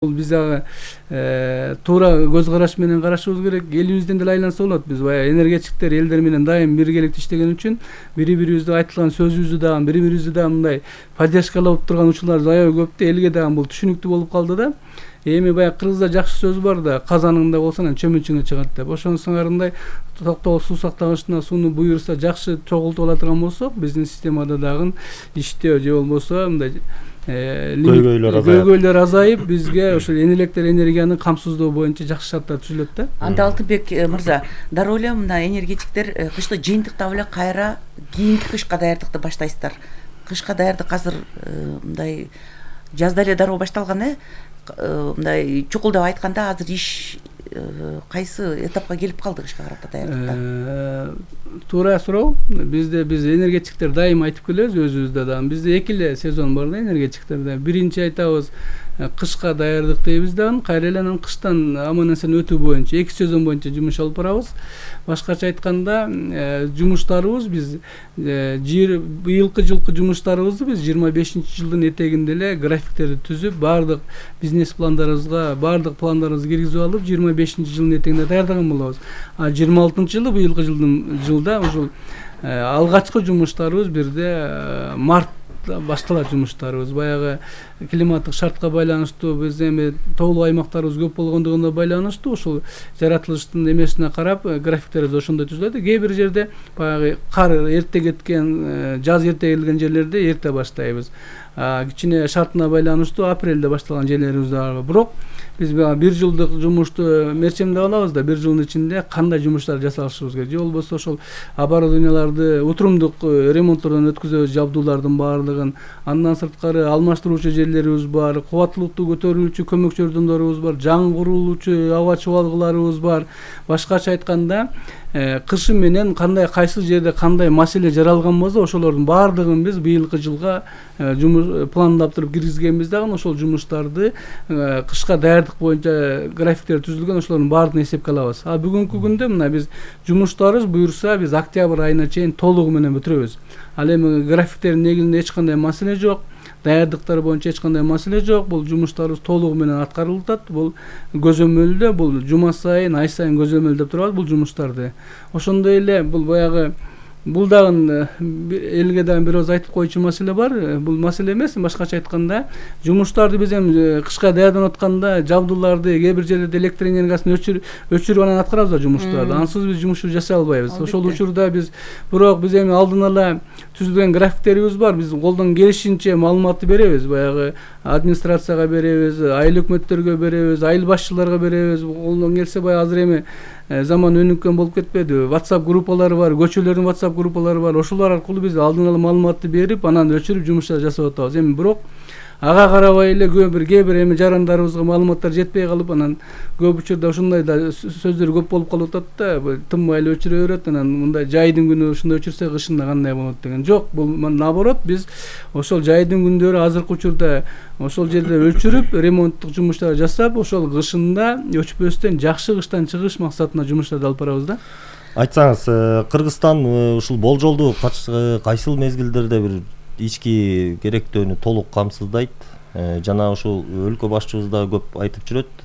Бул биз ага туура көз караш менен карашыбыз керек. Элибизден деле айланса болот. Биз баягы энергетиктер элдер менен дайым биргеликте иштеген үчүн бири-бирибизге айтылган сөзүбүздү дагы бири-бирибизди дагы мындай поддержкалап турган учурлар аябай көп да, элге дагы бул түшүнүктүү болуп калды да. Эми баягы кыргызда жакшы сөз бар да, казаныңда болсо анан чөмүчүңө чыгат деп. Ошонун сыңарындай токтогул суу сактагычына сууну буйруса жакшы чогултуп ала турган болсок, биздин системада дагы иштөө же болбосо мындай көйгөйлөр азайып, бизге ошол электр энергиянын камсыздоо боюнча жакшы шарттар түзүлөт да. Анда Алтынбек мырза, дароо эле мына энергетиктер кышты жыйынтыктап эле кайра кийинки кышка даярдыкты баштайсыздар. Кышка даярдык азыр мындай жазда эле дароо башталган мындай чукулдап айтканда азыр иш кайсы этапка келип калды кышка карата даярдыкта? Туура суроо. Биз энергетиктер дайым айтып келебиз өзүбүздө дагы. Бизде эки эле сезон бар да энергетиктерде. Биринчи айтабыз кышка даярдык дейбиз дагы, кайра эле анан кыштан аман эсен өтүү боюнча эки сезон боюнча жумуш алып барабыз. Башкача айтканда жумуштарыбыз биз быйылкы жылкы жумуштарыбызды биз 25-жылдын этегинде эле графиктерди түзүп, баардык бизнес пландарыбызга, баардык пландарыбызды киргизип алып, 25-жылдын этегинде даярдаган болобуз. А 26-жылы быйылкы жылда ушул алгачкы жумуштарыбыз бирде март башталат жумуштарыбыз. Баягы климаттык шартка байланыштуу биз эми тоолуу аймактарыбыз көп болгондугуна байланыштуу ушул жаратылыштын эмесине карап графиктерибиз ошондой түзүлөт. Кээ бир жерде баягы кар эрте кеткен, жаз эрте келген жерлерде эрте баштайбыз. Кичине шартына байланыштуу апрелде башталган жерлерибиз бар. Бирок биз бир жылдык жумушту мерчемдеп алабыз да, бир жылдын ичинде кандай жумуштар жасашыбыз керек. Же болбосо ошол оборудованияларды утурумдук ремонттордон өткүзөбүз, жабдуулардын баардыгын. Андан сырткары алмаштыруучу жерлерибиз бар, кубаттуулукту көтөрүүчү көмөк жардамдарыбыз бар, жаңы курулуучу аба чубалгыларыбыз бар. Башкача айтканда, кышы менен кайсы жерде кандай маселе жаралган болсо, ошолордун баардыгын биз быйылкы жылга жумуш пландап туруп киргизгенбиз дагы, ошол жумуштарды кышка даярдык боюнча графиктер түзүлгөн, ошолордун баардыгын эсепке алабыз. Бүгүнкү күндө мына биз жумуштарыбыз буюрса биз октябрь айына чейин толугу менен бүтүрөбүз. Ал эми графиктердин негизинде эч кандай маселе жок. Даярдыктар боюнча эч кандай маселе жок. Бул жумуштарыбыз толугу менен аткарылып атат. Бул көзөмөлдө, бул жума сайын, ай сайын көзөмөлдөп турабыз бул жумуштарды. Ошондой эле бул баягы бул дагы элге дагы бир аз айтып койчу маселе бар. Бул маселе эмес, башкача айтканда, жумуштарды биз эми кышка даярданып атканда жабдууларды кээ бир жерлерде электр энергиясын өчүрүп анан аткарабыз да жумуштарды. Ансыз биз жумуш жасай албайбыз. Ошол учурда биз эми алдын ала түзүлгөн графиктерибиз бар. Биз колдон келишинче маалыматты беребиз. Баягы администрацияга беребиз, айыл өкмөттөргө беребиз, айыл башчыларга беребиз. Колдон келсе баягы азыр эми заман өнүккөн болуп кетпеди. WhatsApp группалары бар, көчөлөрдүн WhatsApp группалары бар. Ошолор аркылуу биз алдын ала маалыматты берип, анан өчүрүп жумуштар жасап атабыз. Эми бирок ага карабай эле кээ бир эми жарандарыбызга маалыматтар жетпей калып, анан көп учурда ошондой да сөздөр көп болуп калып атат да, тынбай эле өчүрө берет. Анан мындай жайдын күнү ушундай өчүрсө кышында кандай болот деген. Жок, бул наоборот, биз ошол жайдын күндөрү азыркы учурда ошол жерде өчүрүп, ремонттук жумуштар жасап, ошол кышында өчпөстөн жакшы кыштан чыгыш максатында жумуштарды алып барабыз да. Айтсаңыз, Кыргызстан ушул болжолду кайсыл мезгилдерде бир ички керектөөнү толук камсыздайт? Жана ушул өлкө башчыбыз да көп айтып жүрөт,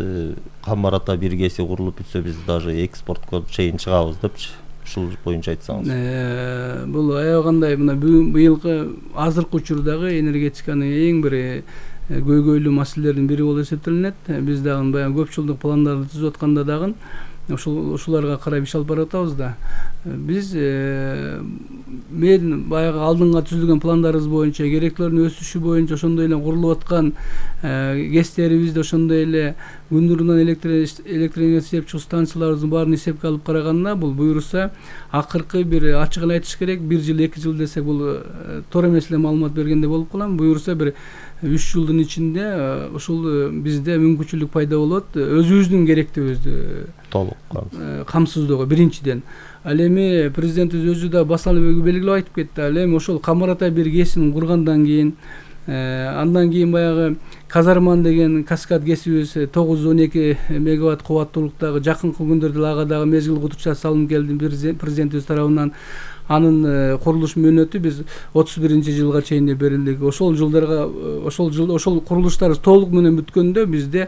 Камбарата биргеси курулуп бүтсө биз даже экспортко чейин чыгабыз депчи. Ушул боюнча айтсаңыз. Бул аябагандай мына быйылкы азыркы учурдагы энергетиканын эң бир көйгөйлүү маселелердин бири болуп эсептелинет. Биз дагы баягы көп жылдык пландарды түзүп атканда дагы ушуларга карап иш алып баратабыз да. Биз мен баягы алдынга түзүлгөн пландарыбыз боюнча, керектүүлөрдүн өсүшү боюнча ошондой эле курулуп аткан ГЭСтерибизде ошондой эле күндүрүнөн электр энергиясы иштеп чыгуу станцияларыбыздын баарын эсепке алып караганда, бул буюрса акыркы бир ачык эле айтыш керек, 1 жыл 2 жыл десек бул туура эмес эле маалымат бергендей болуп калам. Буюрса бир 3 жылдын ичинде ушул бизде мүмкүнчүлүк пайда болот өзүбүздүн керектүүбүздү толук камсыздоого биринчиден. Ал эми президентибиз өзү да басалып белгилеп айтып кетти. Ал эми ошол Камарата биргесин кургандан кийин, андан кийин баягы Казарман деген каскад ГЭСибиз 912 мегаватт кубаттуулуктагы жакынкы күндөрдө ага дагы мезгил кутуча салынып келди президентибиз тарабынан. анын курулуш мөөнөтү биз 31-жылга чейин берилдик. Ошол жылдарга ошол курулуштар толук менен бүткөндө бизде